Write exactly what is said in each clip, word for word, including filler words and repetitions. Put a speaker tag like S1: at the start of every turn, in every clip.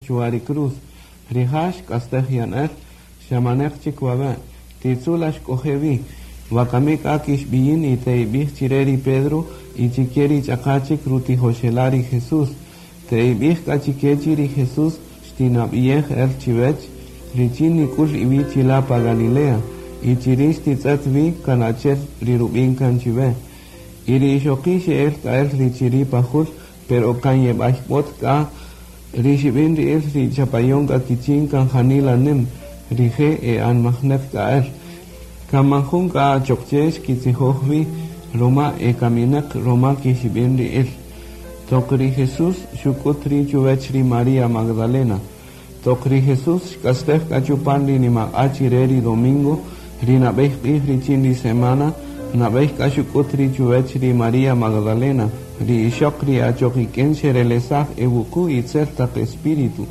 S1: Chwa ri cruz. Rija' xk'astej yan el, xa maneq chik wawe', titzu' la xk'oje' wi. Wakami k'a kixb'iyin y te'ib'ij chire ri Pedro y chike ri ch'aqa chik rutijoxela' ri Jesús. Te'ib'ij k'a chike chi ri Jesús xtinab'iyej el chiwech richin nik'ul iwi' chila' pa Galilea y chiri' xtitz'et wi kan achi'el ri rub'in kan chiwe. Y ri ixoqi' xe'el k'a el ri chiri' pa jul, pero kan yeb'ayb'ot k'a ri xib'in ri'il ri chapayon k'a kichin kan janila nim, rije' e anmajneq k'a el. Kan man jun k'a achoq che xkitzijoj wi roma e kamineq roma kixib'in ri'il. Toq ri Jesús xuk'ut ri' chuwech ri María Magdalena. Toq ri Jesús xk'astej k'a chupan ri nimaq'a' chire ri domingo, ri nab'ey q'ij richin ri semana, nab'ey k'a xuk'ut ri' chuwech ri María Magdalena, ri ixoq ri achoq ik'in xerelesaj e wuqu' itzel taq espíritu.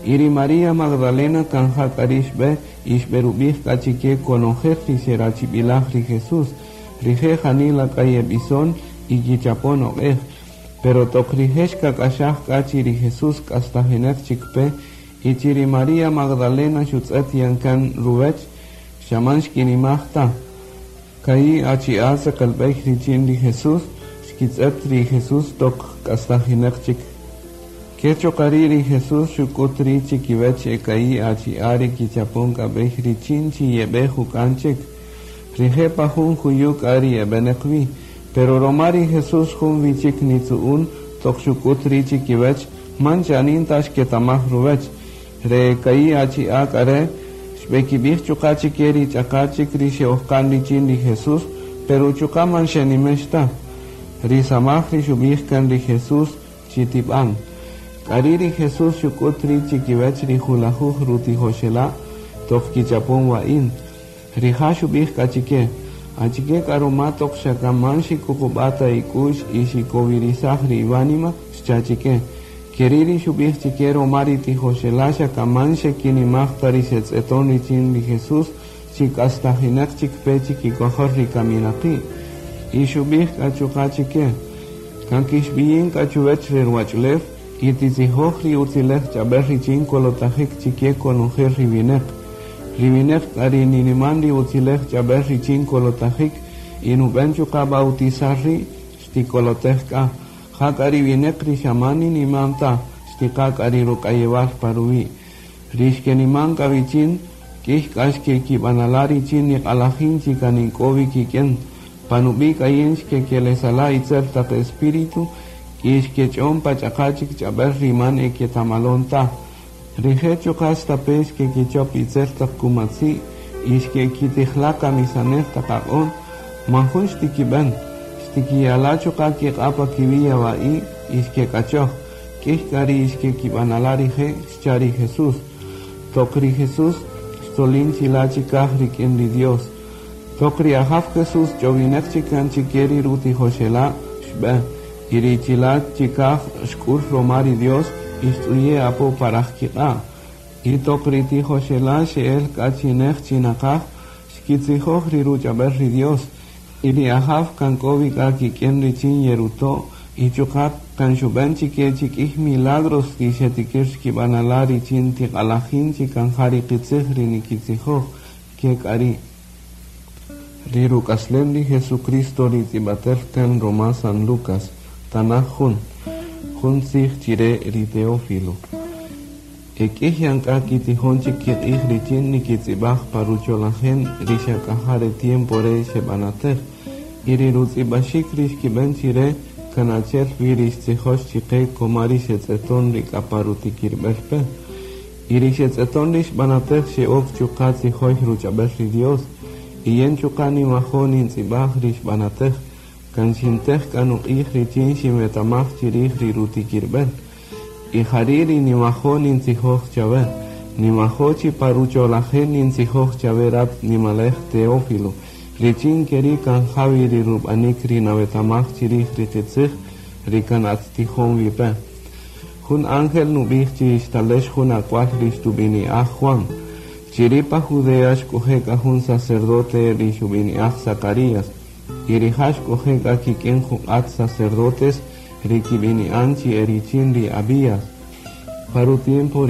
S1: Y ri María Magdalena kan ja k'a ri' xb'e y xb'erub'ij k'a chike konojel ri xerachib'ilaj ri Jesús. Rije' janila k'a yeb'ison y kichapon oq'ej. Pero toq rije' xkak'axaj k'a chi ri Jesús k'astajineq chik pe y chi ri María Magdalena xutz'et yan kan ruwech, xa man xkinimaj ta. Ka'i' achi'a' tzeqelb'ey richin ri Jesús, xkitz'et ri Jesús toq k'astajineq chik. Ke chuqa' ri' ri Jesús xuk'ut ri' chikiwech e ka'i' achi'a' ri kichapon k'a b'ey richin chi yeb'e juk'an chik. Rije' pa jun juyu' k'a ri eb'eneq wi, pero roma ri Jesús jun wi chik nitzu'un toq xuk'ut ri' chikiwech, man chanin ta xketamaj ruwech. Re ka'i' achi'a' k'a re' xb'ekib'ij chuqa' chike ri ch'aqa' chik ri xe'ojkan richin ri Jesús, pero chuqa' man xenimex ta. Ri samaj ri xub'ij kan ri Jesús chi tib'an. K'ari' ri Jesús xuk'ut ri' chikiwech ri julajuj rutijoxela' toq kichapon wa'in. Rija' xub'ij k'a chike, achike k'a ruma toq xa kan man xikuqub'a' ta ik'u'x y xikowirisaj ri iwánima, xcha' chike. Keri' ri xub'ij chike roma ri tijoxela' xa kan man xekinimaj ta ri xetz'eton richin ri Jesús chi k'astajineq chik pe chikikojol ri kaminaqi'. Y xub'ij k'a chuqa' chike, kan kixb'iyin k'a chuwech ri ruwach'ulew y titzijoj ri utzilej ch'ab'äl richin kolotajik chike konojel ri wineq. Ri wineq k'a ri niniman ri utzilej ch'ab'äl richin kolotajik y nub'en chuqa' bautizar ri' xtikolotej k'a. Ja k'a ri wineq ri xa man niniman ta, xtiqa k'a ri ruk'ayewal pa ruwi'. Ri xkeniman k'a wichin, k'ij k'a xkekib'anala' richin niq'alajin chi kan ink'o wi kik'in. Pa nub'i' k'a yin xkekelesala' itzel taq espíritu y xkech'on pa ch'aqa' chik ch'ab'äl ri man eketamalon ta. Rije' chuqa' stape' xkekichop itzel taq kumatzi' y xkekitijla' kamisanej taq aq'on, man jun xtikib'en. Xtikiyala' chuqa' kiq'a' pa kiwi' yawa'i' y xkek'achoj. K'ij k'a ri xkekib'anala' rije' xcha' ri Jesús. Toq ri Jesús xtzolin chila' chikaj rik'in ri Dios. Toq ri Ajaw Jesús ch'owineq chik kan chike ri rutijoxela' xb'e, y ri chila' chikaj xk'ul roma ri Dios y xtz'uye' apo paraj kiq'a'. Y toq ri tijoxela' xe'el k'a chi nej chi naqaj, xkitzijoj ri ruch'ab'äl ri Dios. Y ri Ajaw kan k'o wi k'a kik'in richin yeruto' y chuqa' kan xub'en chike chi k'ij milagros ri xetikir xkib'anala' richin tiq'alajin chi kan ja ri qitzij ri nikitzijoj ke k'a ri'. Ri ruk'aslem ri Jesucristo ri tz'ib'atel kan roma San Lucas, tanaj jun, jun tzij chire ri Teófilo. E k'ij yan k'a kitijon chik kiq'ij richin nikitz'ib'aj pa rucholajen ri xa k'a ja re tiempo re xeb'anatej. Y ri rutz'ib'axik ri xkib'en chire kan achi'el wi ri xtzijox chike koma ri xetz'eton ri k'a pa rutikirb'el pe. Y ri xetz'eton ri xb'anatej xe'ok chuqa' tzijoy ruch'ab'äl ri Dios. Y yen chuqa' niwajo' nintz'ib'aj ri xb'anatej, kan xintej k'a nuq'ij richin xinwetamaj chirij ri rutikirb'el. Y jari' ri niwajo' nintzijoj chawe, niwajo' chi pa rucholajen nintzijoj chawe rat nimalej Teófilo, richin keri' kan jawi ri rub'anik ri nawetamaj chirij ri qitzij ri kan attijon wi pe. Jun ángel nub'ij chi xtalex jun ak'wal ri xtub'ini'aj Juan. Chiri' pa Judea xk'oje' k'a jun sacerdote ri xub'ini'aj Zacarías, y rija' xk'oje' k'a kik'in juq'at sacerdotes ri kib'ini'an chi e richin ri Abías. Pa rutiempo ri